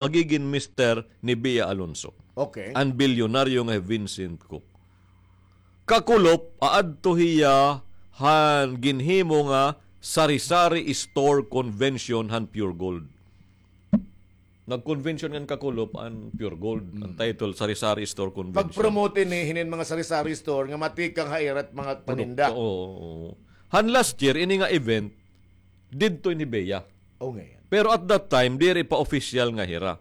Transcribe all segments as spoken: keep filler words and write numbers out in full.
magigin mister ni Bea Alonzo. Okay. An bilyonaryo nga hi Vincent Cook. Kakulop, aadto hiya han ginhimo nga sari-sari store convention han Pure Gold. Nag-convention ngan kakulop an Pure Gold. An title, sari-sari store convention. Pag-promote ini hinin mga sari-sari store nga matikang ha ira mga paninda. Produkto, oo. Han last year, ini nga event, didto ini hi Bea. O, ngayon. Pero at that time, diri pa official nga hira.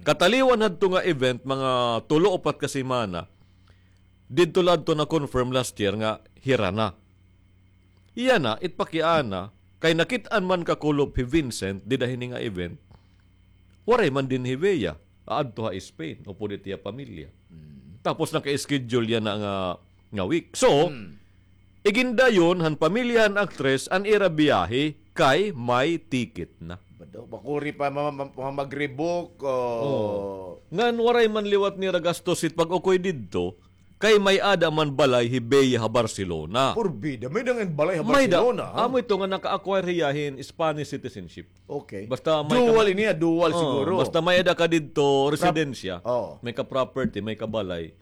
Kataliwan hadto nga event, mga tulo, upat ka semana, didto la adto na-confirm last year nga hira na. Iya na, it pakiana, kay nakit-an man kakulop hi Vincent, dida hini nga event, waray man dinhi hi Bea, aadto ha Spain, upod it iya pamilya. Tapos naka-schedule yana nga, nga week. So, igindayon han pamilya han aktres an ira biyahe kay may ticket na. Bado, makuri pa ma-, ma-, ma-, mag-rebook, o. Ngan waray man liwat nira gastos it pag-ukoy didto, kay may-ada man balay hi Bea ha Barcelona. Porbida, may-ada nga balay ha Barcelona, ha? Amo ito nga naka-acquire hiya hin Spanish citizenship. Okay. Basta may dual ini, ah, dual siguro. Basta may-ada ka didto residensya, may ka property, may ka balay.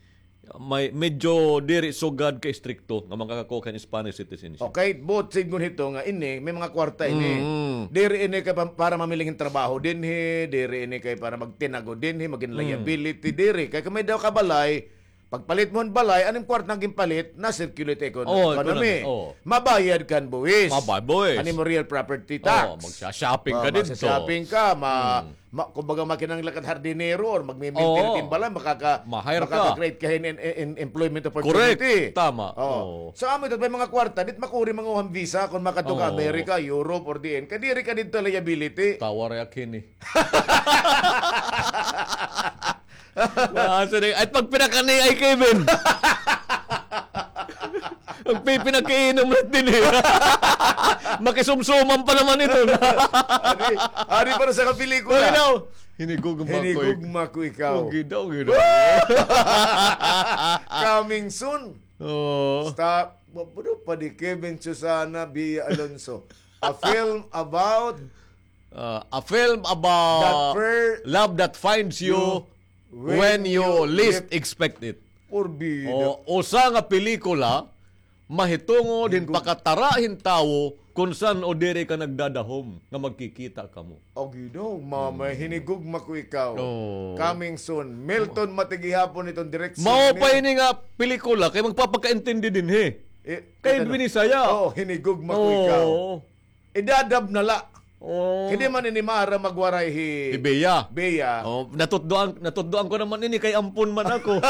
May, medyo diri sugad ka istrikto nga makakakuha ka hin Spanish citizenship. Okay, but sidngon hito nga ini, may mga kwarta ini. Diri ini kay pa-, para mamili hin trabaho dinhi, diri ini kay para magtinago dinhi, magin liability, diri. Kay kon may-ada ka balay, pagpalit mo hin balay, an im kwarta nga ginpalit, na-circulate ha ekon-, economy. Mabayad ka hin buhis. Mabayad buhis. An imo real property tax. Magsha-shopping ka didto. Magsha-shopping ka, ma-, ma-, kumbaga, makinahanglan ka hin hardinero or magmi-maintain hin balay, makaka-, makaka-create ka hin, hin, hin employment opportunity. Correct. Tama. So, amo ito, may mga kwarta, diri makuri manguha hin visa kon makadto ka America, Europe, or diin. Kay diri ka didto liability. Tawa react hini. Ay, pagpinakani ay Kevin. Magpipinakiinom na dinhi. Makisumsuman pa naman ito. Ari, ari para sa kapelikula. Hinigugma ko ik-, hinigugma ko ikaw. Coming soon. Stop. Mabudo pa di Kevin Susana Bea Alonzo. A film about Ah, a film about love that finds you when you least expect it. Porbida. O, usa nga pelikula mahitungod hin pakatara hin tawo kon san-o diri ka nagdadahom nga magkikita kamo. Agi daw, mama, hinigugma ko ikaw. Coming soon. Milton Matigihapon iton direksyon. Mao pa ini nga pelikula kay magpapakaintindi dinhi. Kay Binisaya. Oo, hinigugma ko ikaw. Idadab na la. Kay di man ini maaram magwaray hi Bea. Bea. Natutdoan, natutdoan ko naman ini kay ampon man ako.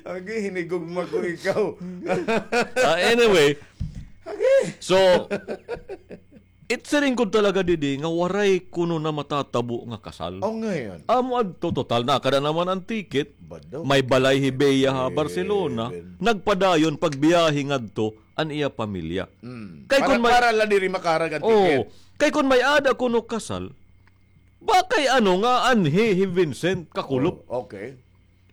Agi, hinigugma ko ikaw. Ah, anyway. Agi. So, It siring gud talaga didi nga waray kuno na matatabo nga kasal. O, ngayon. Amo adto, total, nakada naman an ticket. May balay hi Bea ha Barcelona. Nagpadayon pagbiyahe ngadto an iya pamilya. Kay kon may, para la diri makarag an ticket. Kay kon may-ada kuno kasal, bakay ano nga anhi hi Vincent kakulop. Okay.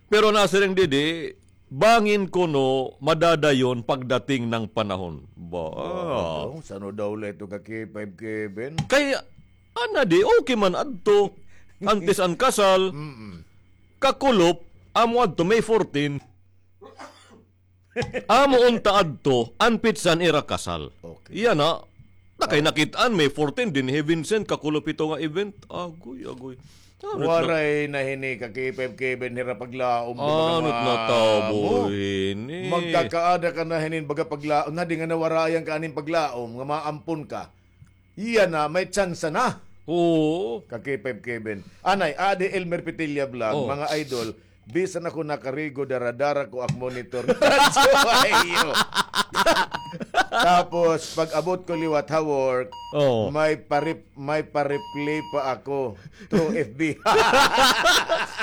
Pero nasiring didi, bangin kuno madadayon pagdating ng panahon. Ba? San-o daw la ito ka K five Kevin? Kay, ana di, okay man adto. Antes an kasal, kakulop, amo adto, May fourteen. Amo unta adto an petsa han ira kasal. Okay. Yana, nakay nakit-an, May fourteen, dinhi Vincent, kakulop ito nga event. Agoy, agoy. Waray na hini ka K five Kevin hira paglaom. Ano na tabo hini? Magkakaada ka na hinin baga paglaom. Na di nga nawarayan ka aning paglaom, nga maampon ka. Iya na, may tsansa na. Oo. Ka K five Kevin. Anay, adi Elmer Petilla Vlog, mga idol, bisan ako nakarigo, dara-dara ko ak monitor. Tapos, pag-abot ko liwat ha work, may parip-, may pa-replay pa ako through F B.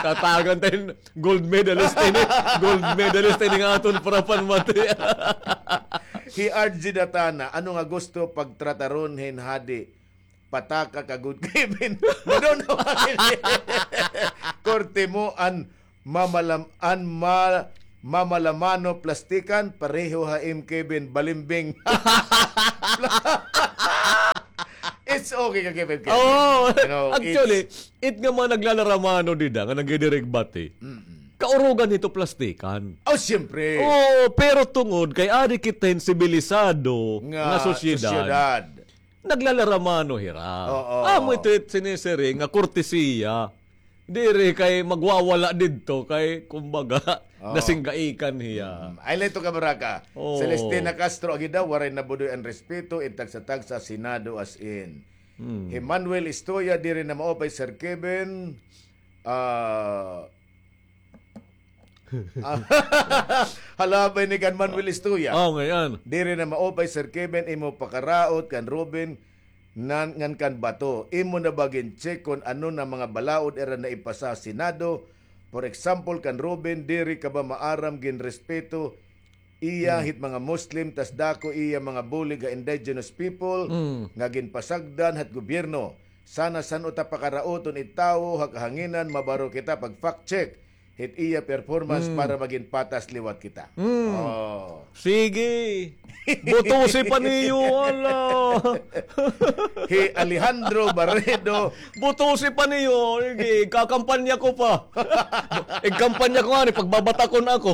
Tatagan tayo. Gold medalist ini. Gold medalist ini nga aton parapan mati. Hi R G Datana, ano nga gusto pagtrataron hin hadi? Pataka ka gud, Kevin. Madon na man ini. Korte mo an mamalam-, an ma-, mamalamano plastikan, pareho ha im Kevin, balimbing. It's okay, Ka K five Kevin. Oo. You know, actually, it's it nga mga naglalaramano dida nga nagdidiregbati. Mm-mm. Kaurugan hito plastikan. Oh, siyempre. Oo, pero tungod kay adi kita hin sibilisado nga, nga sosyedad, sosyedad, naglalaramano hira. Oo. Amo ito it sinisiring nga kortesiya. Diri kay magwawala didto kay, kumbaga, oo, nasinggaikan hiya. Mm. Ay, lay to ka, baraka. Oo. Celestina Castro, agi daw, waray nabudoy an respeto, in tagsa-tagsa, Senado as in. Hmm. Hi Manuel Istoya, diri na maupay, Sir Kevin. Ah, halabay ni kan Manuel Istoya. Oh, ngayon. Diri na maupay, Sir Kevin, imo pakaraot kan Ruben nan, ngan kan Bato. Imo na ba gin-check kon ano na mga balaod ira na ipasa ha Senado? For example, kan Ruben, diri ka ba maaram ginrespeto iya hit mga Muslim, tas dako iya mga bulig ha indigenous people nga ginpasagdan hat gobyerno. Sana san-o ta pakaraoton it tawo ha kahanginan, mabaro kita pag-fact check hit iya performance para magin patas liwat kita. Mm. Oh. Sige. Butusi pa niyo, ala. Hi Alejandro Barredo. Butusi pa niyo. Sige, kakampanya ko pa. Igkampanya ko nga ni, pagbabatakon ako.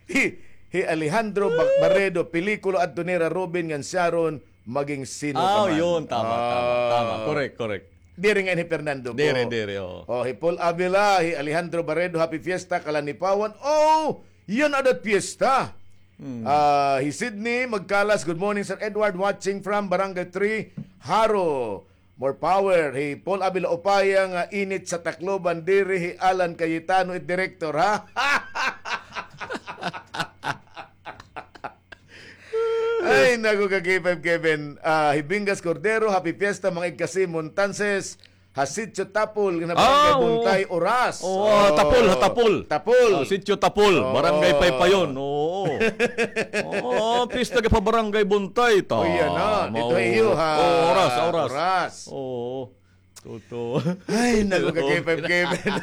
Hi, hi Alejandro Ba-, Barredo, pelikula adto nira Robin ngan Sharon, maging sino ka man. Ah, yun. Tama, tama, tama. Correct, correct. Diri nga hi Fernando po. Diri, diri, oo. Oh, hi Paul Avila, hi Alejandro Barredo, happy fiesta, Kalanipawan. Oh, yan adat fiesta. Hmm. Ah, hi Sydney Magkalas, good morning, Sir Edward, watching from Barangay three, Jaro. More power. Hi Paul Avila Opaya nga init sa Tacloban, diri hi Alan Cayetano it director, ha? Ay, naku, ka K five Kevin. Ah, hi Bingas Cordero, happy fiesta, mga igkasi, Montances, ha Sitio Tapol, nga barangay Buntay, Oras. Oo, Tapol, ha Tapol. Tapol. Ah, Sitio Tapol, Barangay Paypayon. Oo. Oo, pista ka pa Barangay Buntay. Uy, yan na. Dito iyo, ha? Oo, Oras, Oras. Oras. Oo. Totoo. Ay, naku, ka K five Kevin.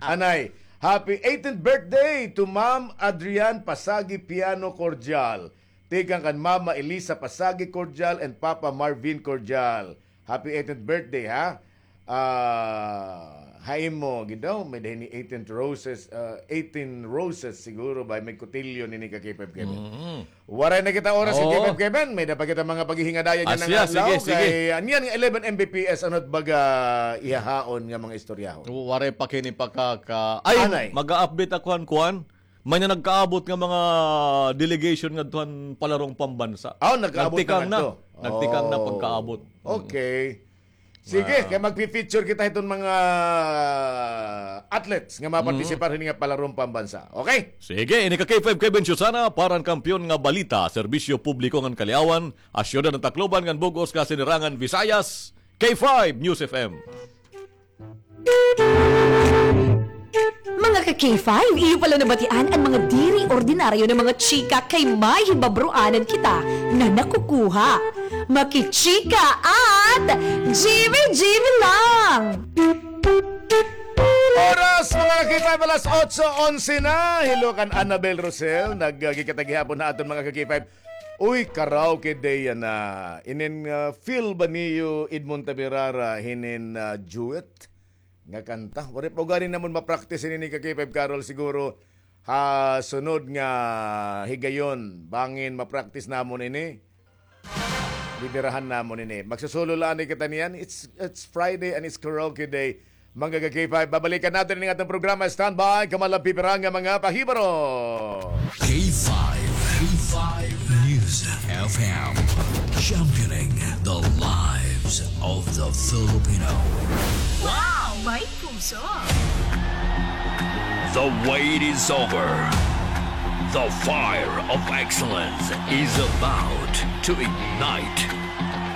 Anay, happy eighteenth birthday to Ma'am Adrian Pasagi Piano Cordial. Tikang kan Mama Elisa Pasagi Cordial and Papa Marvin Cordial. Happy eighteenth birthday, ha? Ah, ha imo, gid daw, may dahin ni eighteen roses, ah, eighteen roses siguro ba, may kutilyo nini ka K five Kevin. Mm-hmm. Waray na kita oras, oo, K five Kevin. May da pa kita mga paghihingadayan nga nangadlaw. Sige, sige. Kay, aniyan nga eleven M B P S, ano it baga ihahaon nga mga istoryahon? Waray pa kini pakaka-, ay, mag-a-update ako han kuan. May na nagkaabot nga mga delegation ngadto han palarong pambansa. Aw, nagkaabot na ngadto. Nagtikang na, nagtikang na pagkaabot. Okay. Sige, kay magpi-feature kita hiton mga athletes nga mapartisipar hini nga palarong pambansa. Okay? Sige, ini ka K five Kevin Susana para han Kampiyon nga Balita, Serbisyo Publiko ngan Kaliawan, ha Syudad han Tacloban ngan bug-os nga Sinirangan Visayas, K five News F M. Mga ka-K five, iyo pala nabatian an mga diri ordinaryo nga mga chika kay may hibabroanan kita nga nakukuha. Makichika at G B G B lang! Oras, mga ka-K five, alas otso onse na. Hello kan Annabel Rosel. Nag-, ah, gikita gihapon ha aton mga ka-K five. Uy, karaoke day yana. Inin, ah, feel ba niyo Edmond Tabirara hinin, ah, duet nga kanta? Waray pa ugani namon ma-practice ini ni ka K five Carol, siguro ha sunod nga higayon, bangin ma-practice namon ini. Bibirahan namon ini. Magsusolo la anay kita niyan. It's, it's Friday and it's karaoke day. Mga ka-K five, babalikan naton ini nga aton programa. Standby, kamo la pipira nga mga pahibaro. K five, K five News F M, championing the lives of the Filipino. Wow! May puso. The wait is over. The fire of excellence is about to ignite.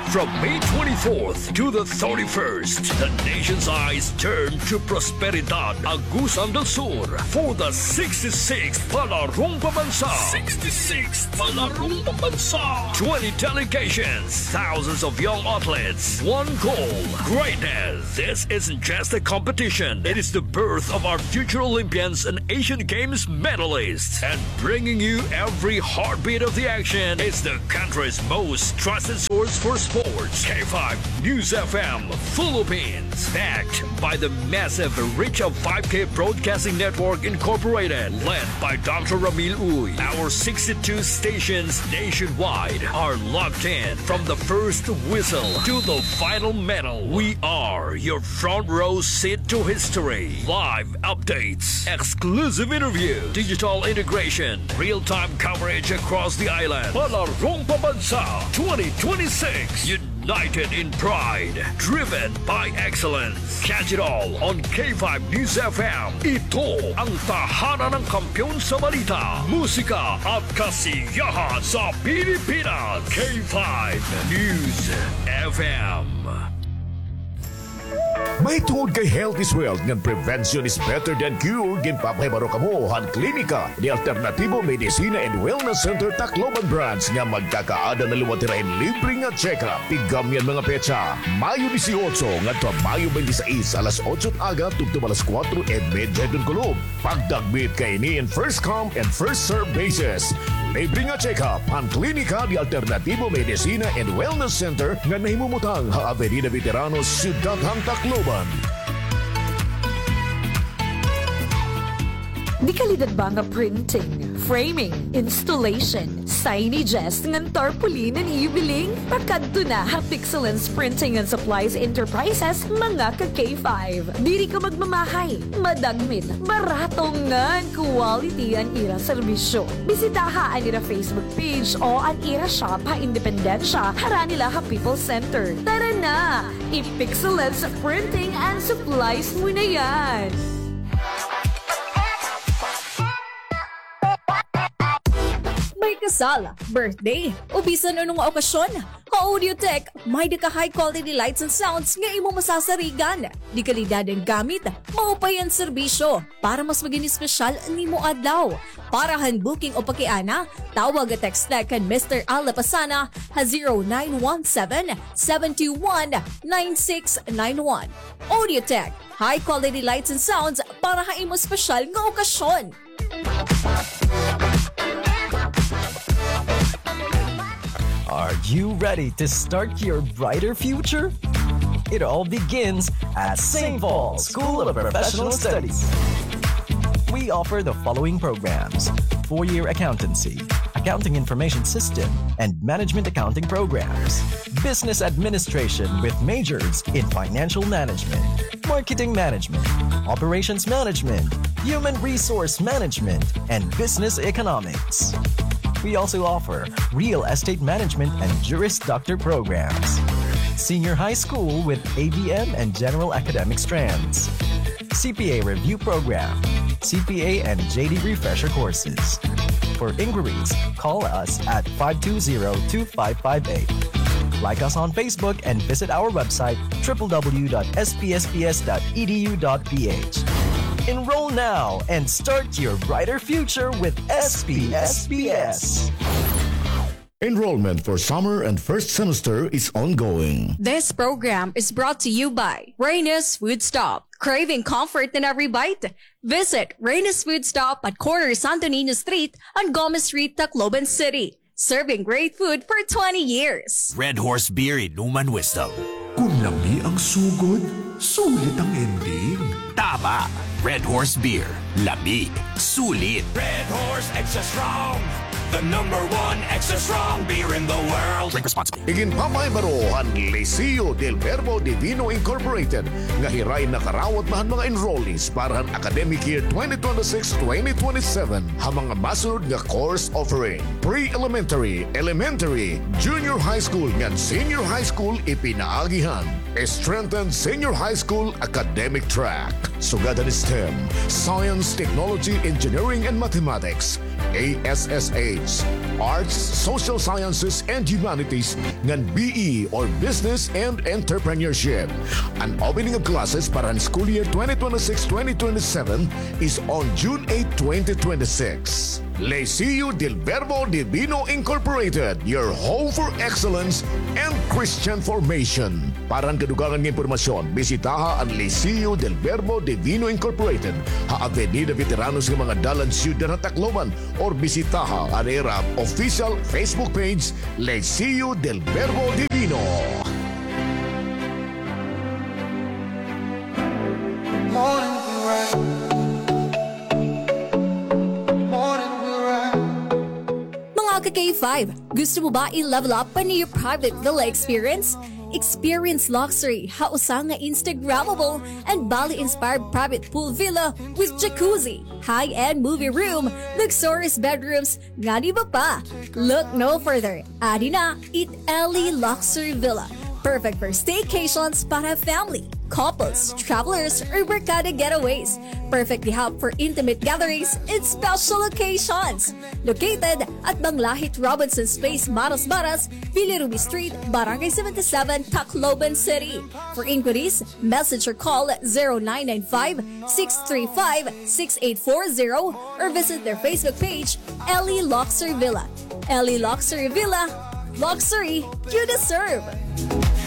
From May twenty-fourth to the thirty-first, the nation's eyes turn to Prosperidad, Agusan del Sur, for the sixty-sixth Palarong Pambansa. Sixty-sixth Palarong Pambansa. Twenty delegations, thousands of young athletes, one goal, greatness. This isn't just a competition. It is the birth of our future Olympians and Asian Games medalists. And bringing you every heartbeat of the action is the country's most trusted source for sports. Sports, K five News F M Philippines, backed by the massive reach of five K Broadcasting Network Incorporated, led by Doctor Ramil Uy. Our sixty-two stations nationwide are locked in. From the first whistle to the final medal, we are your front row seat to history. Live updates, exclusive interview, digital integration, real-time coverage across the island. Palarong Pambansa twenty twenty-six. United in pride, driven by excellence. Catch it all on K five News F M. Ito ang tahanan ng kampiyon sa balita, musika at kasiyahan sa Pilipinas. K five News F M. Mahitungod kay health is wealth ngan prevention is better than cure, ginpapahibaro kamo han Klinika de Alternativo Medicina and Wellness Center Tacloban Branch nga magkakaada na liwat hira hin libre nga check-up. Tigam niyan mga petsa, Mayo dieciocho ngadto ha Mayo twenty-six, alas otso hin aga tubtob alas kuwatro y medya hiton kulop. Pagdagmit kay ini in first come and first serve basis. Libre nga check-up han Klinika de Alternativo Medicina and Wellness Center nga nahimumutang ha Avenida Veteranos, Syudad han Tacloban. Di kalidad ba nga printing, framing, installation, signages ngan tarpaulin an iyo biling? Pakadto na ha Pixelance Printing and Supplies Enterprises, mga ka K five. Diri ka magmamahay, madagmit, barato ngan quality an ira serbisyo. Bisitaha an ira Facebook page o an ira shop ha Independencia, harani la ha People's Center. Tara na! I-Pixelance Printing and Supplies mo na yan! May kasal, birthday, o bisan ano nga okasyon, ha Audiotech, may-ada ka high quality lights and sounds nga imo masasarigan. Di kalidad an gamit, maupay an serbisyo, para mas magin espesyal an imo adlaw. Para han booking o pakiana, tawag o text la kan Mister Al Lapasana ha zero nine one seven, seven two one, nine six nine one. Audiotech, high quality lights and sounds para ha imo espesyal nga okasyon. Are you ready to start your brighter future? It all begins at Saint Paul School of Professional Studies. We offer the following programs: four-year accountancy, accounting information system, and management accounting programs, business administration with majors in financial management, marketing management, operations management, human resource management, and business economics. We also offer real estate management and Juris Doctor programs, senior high school with A B M and general academic strands, C P A review program, C P A and J D refresher courses. For inquiries, call us at five two zero, two five five eight. Like us on Facebook and visit our website, triple W dot S P S P S dot E D U dot P H. Enroll now and start your brighter future with S P S P S. Enrollment for summer and first semester is ongoing. This program is brought to you by Reyna's Food Stop. Craving comfort in every bite? Visit Reyna's Food Stop at corner Santo Niño Street and Gomez Street, Tacloban City. Serving great food for twenty years. Red Horse Beer Inuman Wisdom. Kun lami ang sugod, sulit ang ending. Tama! Red Horse Beer. Lami. Sulit. Red Horse Extra Strong. The number one extra strong beer in the world. Drink responsibly. Iginpapahibaro han Liceo del Verbo Divino Incorporated nga hira in nakarawat na han mga enrollees para han academic year twenty twenty-six twenty twenty-seven ha mga masunod nga course offering: pre-elementary, elementary, junior high school ngan senior high school. Ipinaagi han strengthened senior high school academic track, sugad han STEM, Science, Technology, Engineering, and Mathematics, A S S H, Arts, Social Sciences, and Humanities, ngan B E or Business and Entrepreneurship. An opening of classes para han school year twenty twenty-six twenty twenty-seven is on June eight, twenty twenty-six. Liceo del Verbo Divino Incorporated, your home for excellence and Christian formation. Para han kadugangan nga impormasyon, bisitaha an Liceo del Verbo Divino Incorporated ha Avenida Veteranos nga mga dalan, Syudad han Tacloban, or bisitaha an ira official Facebook page, Liceo del Verbo Divino. Morning will rise. Morning will rise. Mga ka-K five, gusto mo ba i-level up pa an iyo private villa experience? Experience luxury ha usa nga Instagrammable and Bali-inspired private pool villa with jacuzzi, high-end movie room, luxurious bedrooms, ngan iba pa. Look no further. Adi na it Ellie Luxury Villa. Perfect for staycations para family, couples, travelers, or barkada getaways. Perfect di ha for intimate gatherings and special occasions. Located at Banglahit Robinson's Place, Maras Maras, Villa Ruby Street, Barangay seventy-seven, Tacloban City. For inquiries, message or call zero nine nine five, six three five, six eight four zero or visit their Facebook page, Ellie Luxury Villa. Ellie Luxury Villa, luxury you deserve.